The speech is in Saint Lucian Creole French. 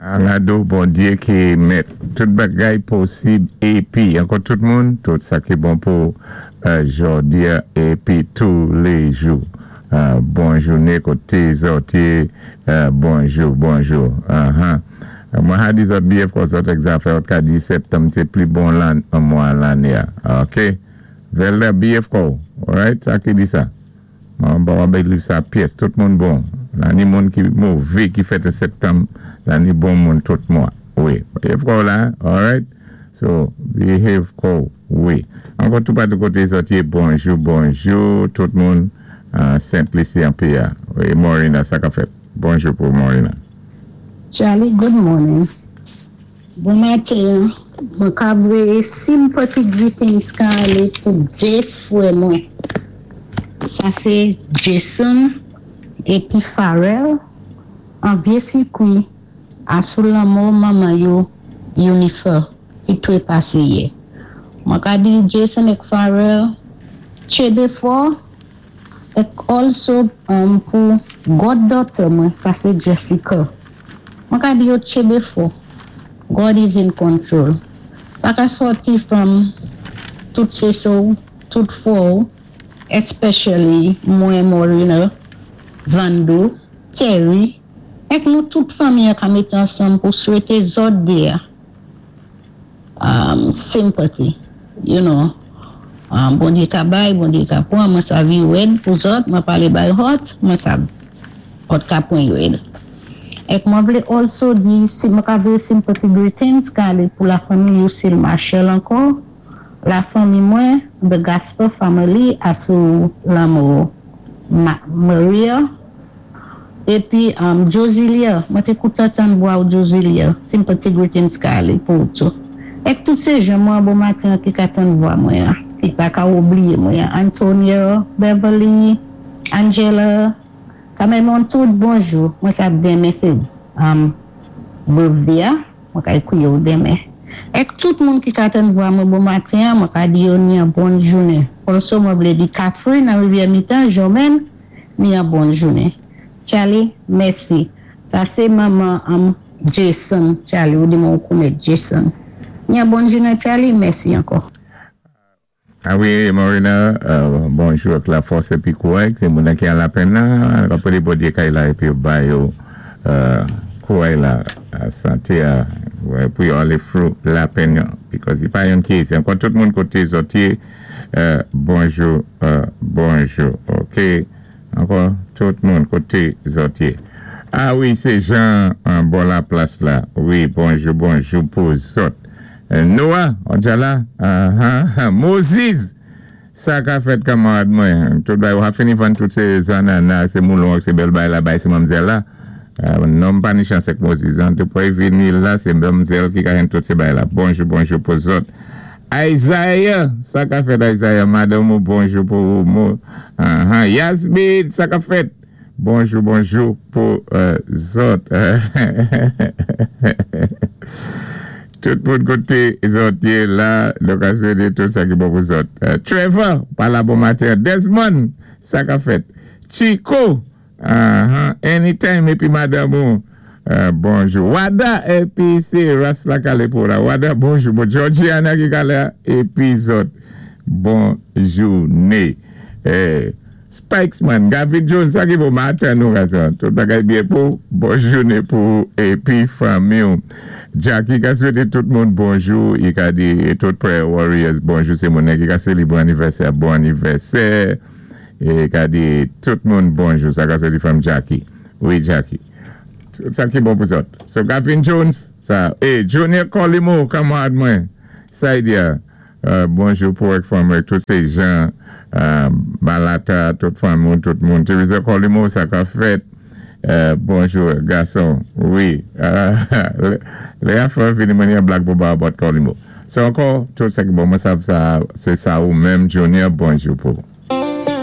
Alado Bondyé ki mèt tout bagay posib épi ankò tout moun tout sa ki bon pou jòdia épi toulejou bon jouné koté zòt yé bonjou bonjou ahan mwen ha di zòt biyè fò zòt ak zafè ot ka di septanm sé pli bon lan mwa lanné a ok vèlda biyè fkòw alright sa ki di sa. Mwen pa bay liv sa pyès. Tout moun bon. La ni moun ki move ki fèt an septanm la ni bon moun tout mwa. Wi. Behave kòw la. Alright. So, behave kòw. Wi. Ankò toupatou kote zòt ye bonjou bonjou tout moun Sent Lisi an PA. Wi Morina sa kap fèt? Bonjou pou Morina. Charlie good morning bon maten mwen ka voye sympathy greetings ka ale pou 2 frè mwen sa se Jason epi Pharel an vye sikwi a sou lanmò manman yo Unifer ki trepase yè mwen ka di Jason ek Pharel tchebe fò Ek also pou God daughter mwen sa se Jessica mwen ka di yo tchebe fò God is in control sa ka sòti from tout se so tout fò w especially mwen Morena Vando Terry ek nou tout fanmi an ka mete ansanm pou swete zòt 2 a. Sympathy you know Bondye ka bay Bondye ka pwan mwen sav i rèd pou zòt mwen pale bay hot mwen sav hot ka pwan i rèd ek mwen vle also di si mwen ka voye sympathy greetings ka ale pou la fanmi Lucille Marshall ankò la fanmi mwen the Gasper family asou lanmò Maria. Epi Josilia, mwen té koutan tann vwa ou Josilia, sympathy greetings ka alé pou ou tou. Ek tout sé jan mwen bon maten an ki ka tann vwa mwen an, ki pa ka oublié mwen an, Antonio, Beverly, Angela, Cameron tout bonjou, mwen sav denmen sé birthday a, mwen ka ékri yo denmen. Ek tout moun ki ka tann vwa mwen bon maten an, mwen ka di yo ni an bon jounen. Also mwen vlé di Catherine nan Rivyè Mitan, Jomèn, Ni an bon jounen. Charly mèsi. Sa se manman anm Jason Charly ou di mwen ou konet Jason. Ni an bon jounen Charly mèsi ankò. A wi Morena bonjou ak la fòs epi kouray se moun nan ki an lapenn nan kap rele Bondye kay la epi yo ba yo kouray la sante a pou yo ale through lapenn yo because li pa yonn ki ezi ankò tout moun kote zòt ye Bonjou bonjou ok ankò tout moun kote zòt ye ah wi se Jean bò laplas la wi bonjou bonjou pou zòt Noah ou dja la ahaa Moziz sa ka fèt kamarad mwen tout bagay ou ha fini vann tout se zanana se moulon ak se bèl bagay la bay se manmzèl la non m pa ni chans ak Moziz an depi vini la se manmzèl ki ka jwenn tout se bagay la bonjou bonjou pou zòt. Isaiah sa ka fèt Isaiah madanm ou bonjou pou ou mo ahan Yasmine sa kap fèt bonjou bonjou pou zòt tout moun kote zòt ye la nou ka swete tout sa ki bon pou zòt Trevor pa la bon maten an Desmond sa kap fèt Chico Ahan anytime epi madanm ou bonjou Wada epi se ras la kale pou la Wada bonjou bon Georgiana ki kale a epi zòt bon joune Spikesman Gavin Jones sa ki bon maten nou gason tout bagay byen pou bon joune pou ou epi fanmi w Jacky ka swete tout moun bonjou i ka di tout prayer warriors bonjou se moun nan ki ka selebre anivèsè bon anivèsè. E gade tout moun bonjou sa ka soti from Jacky wi Jacky tout sa ki bon pou zòt so Gavin Jones sa e Junior Colimo kamarad mwen Saidia bonjou pou ak fanmi ak tout se Jean Balata tout fanmi w tout moun Teresa Colimo sa ka fèt bonjou gason wi lè a fè vini mwen yon blag pou ba about Colimo so ankò tout sa ki bon mwen sav sa se sa ou menm Junior bonjou pou.